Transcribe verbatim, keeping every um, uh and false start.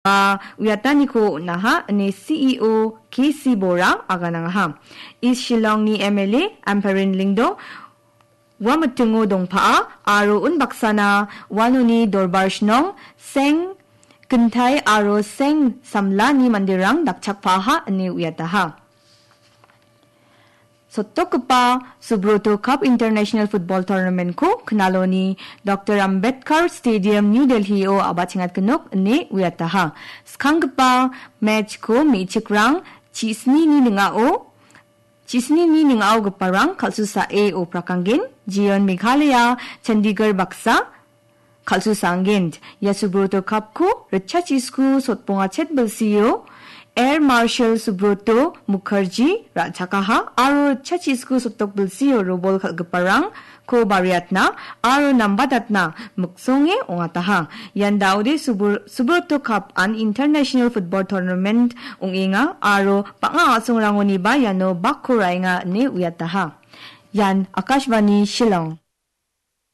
ba uiataniko on·aha ine C E O K C Bora aganangaha. East Shillongni M L A Ampareen Lyngdoh ua mitingo dongpa'a aro unbaksana uanoni Dorbar Shnong, Seng Kintai aro Seng Samlani manderang dakchakpaaha ine uiataha. Sotokgipa Subroto Cup International Football Tournament-ko Knaloni Doctor Ambedkar Stadium, New Delhi-o a·bachengatgnok ine uiataha. Skanggipa match-ko me·chikrang chisnini ning·ao, chisnini ning·aogiparang kal·susae oprakanggen, Jeon Meghalaya, Chandigarh baksa, kal·susaanggent. Ia Subroto Cup-ko ritchachisku sotbonga chet bilsio Air Marshal Subroto Mukherjee ra·chakaha aro ritchachisku sotok bilsio robol kal·giparangko bariatna aro nambatatna miksonge ong·ataha. Ian daode Subur-, Subroto Cup an International Football Tournament ong·enga aro bang·a a·songrangoniba iano bakko ra·enga ine uiataha. Ian Akashvani Shillong.